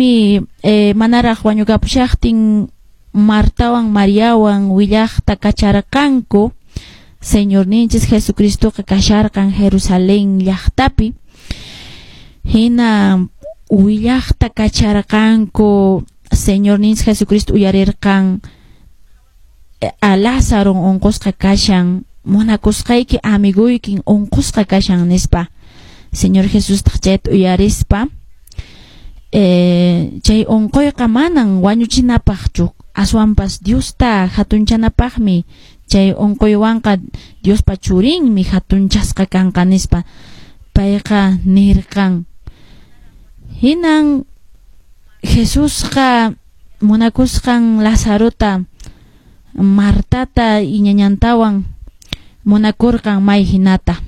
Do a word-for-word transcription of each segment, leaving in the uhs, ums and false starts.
Eh, manaraq wañukapushaqtin Martawan Mariawan willaqta kacharqanku. Señorninchis Jesucristoqa kasharqan Jerusalén llaqtapi. Hina willaqta kacharqanku. Señorninchis Jesucristo uyarirqan a Lázaro unqusqa kashan, munakusqayki amiguykin unqusqa kashan nispa. Señor Jesustaq chayta uyarispa, eh, chay unquyqa manan wañuchinapaqchu, aswanpas Diosta hatunchanapaqmi, chay unquywanqa Diospa churinmi hatunchasqa kanqa nispa payqa nirqan. Hinan Jesusqa munakusqan Lazarota, Martata ñañantawan munakurqan may hinata.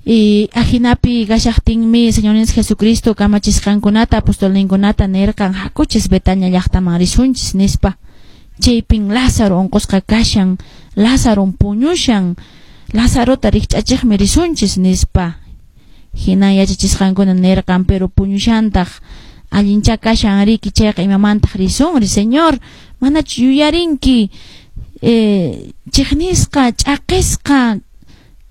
Y ajinapi kashaqtinmi Señorninchis Jesucristo kamachisqankunata apostolninkunata nirqan hakuchis Betania llaqtaman risunchis nispa. Chaypin Lázaro unqusqa kashan, Lázaro puñushan, Lazarota rikch'achiqmi risunchis nispa. Hinan yachachisqankuna nirqan, pero puñushantaq, allincha kashan riki, chayqa imamantaq risunri, Señor, manachu yuyarinki eh, chiqnisqa, ch'aqisqa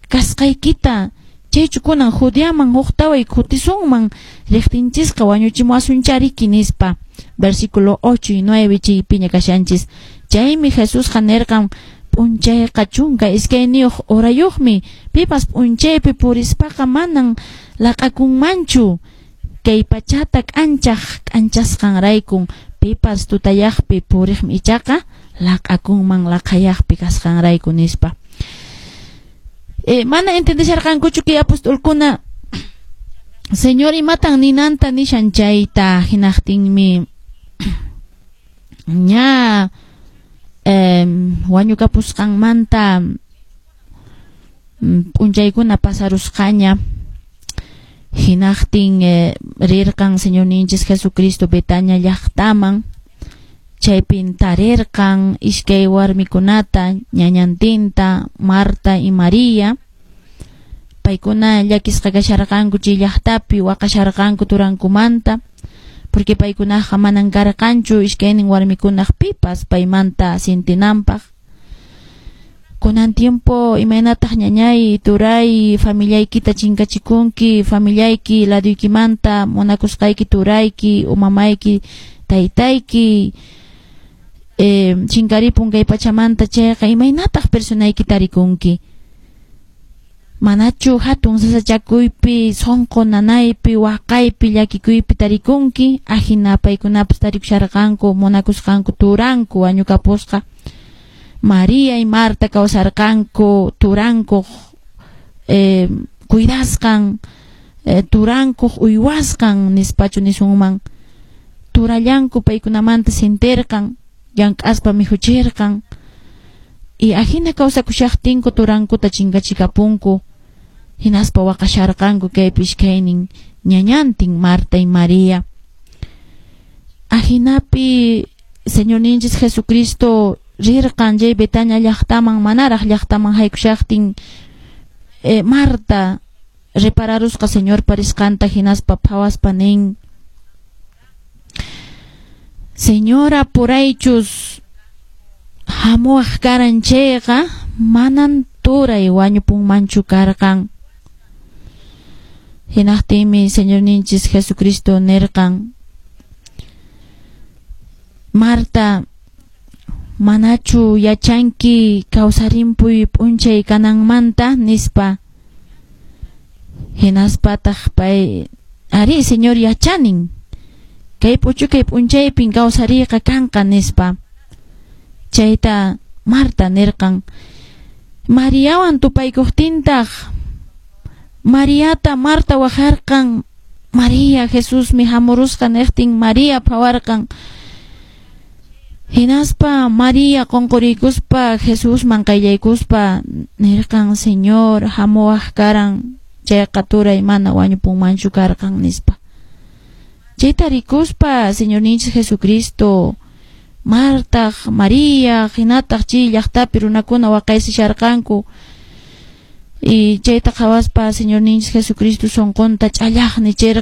kasqaykita, chaychu kunan Judeaman huqtaway kutisunman, riqtinchisqa wañuchimuwasuncha riki nispa. Versículo ocho y nueve chaypiña kashanchis. Chaymi Jesusqa nirqan, p'unchayqa chunka iskayniyuq horayuqmi, pipas p'unchaypi purispaqa manan laq'akunmanchu, kay pachata k'anchaq k'anchasqanraykun, pipas tutayaqpi puriqmi ichaqa laq'akunman laqhayaqpi kasqanrayku nispa. Eh, mana entendesharqankuchu kay apostolkuna Señor imatan ninanta nishan chayta. Hinaqtinmi ña eh, wañukapusqanmanta p'unchaykuna pasarusqaña. Hinaqtin eh, rirqan Señorninchis Jesucristo Betania llaqtaman. Chaypin tarirqan iskay warmikunata, ñañantinta, Marta y María. Paykuna llakisqa kasharqanku chay llaqtapi, waqasharqanku turankumanta, porque paykunaqa manan karqanchu iskaynin warmikunaq pipas paymanta sintinanpaq. Kunan tiempo imaynataq ñañay, turay, familiaykita chinkachikunki, familiayki laduykimanta munakusqayki turayki, umamayki, taytayki eh, chinkaripun kay pachamanta chayqa, imaynataq personayki tarikunki? Manachu hatun sasachakuypi, sunqu nanaypi, waqaypi, llakikuypi tarikunki? Ahina paykunapas tarikusharqanku munakusqanku turanku wañukapusqa. María y Marta kawsarqanku turankuq eh, cuidasqan, eh, turankuq uywasqan nispachu nisunman. Turallanku paykunamanta sintirqan, llank'aspa mikhuchirqan. Y ahina kawsakushaqtinku turankuta chinkachikapunku. Hinaspa waqasharqanku kaypi iskaynin ñañantin Marta y María. Ahinapi Señorninchis Jesucristo rirqan chay Betania llaqtaman. Manaraq llaqtaman haykushaqtin eh, Marta repararusqa Señorpa risqanta, hinaspa phawaspa nin: Señora, puraychus hamuwaq karan chayqa manan turay wañupunmanchu karqan. Hinaqtinmi Señorninchis Jesucristo nirqan: Marta, manachu yachanki kawsarimpuy p'unchay kananmanta nispa. Hinaspataq pay: arí, Señor, yachanin, kay p'uchukay p'unchaypin kawsariyqa kanqa nispa. Chayta Marta nirqan. Mariawan tupaykuqtintaq Mariata Marta waqarqan. María, Jesusmi hamurusqa niqtin María phawarqan. Hinaspa María qunquriykuspa Jesusman qayllaykuspa nirqan: Señor, hamuwaq karan chayqa turay mana wañupunmanchu karqan nispa. Chayta rikuspa Señorninchis Jesucristo, Martaq, María, hinataq chay llaqtapi runakuna waqaysisharqanku. Y chayta qhawaspa Señorninchis Jesucristo sunqunta ch'allaqni chirqan.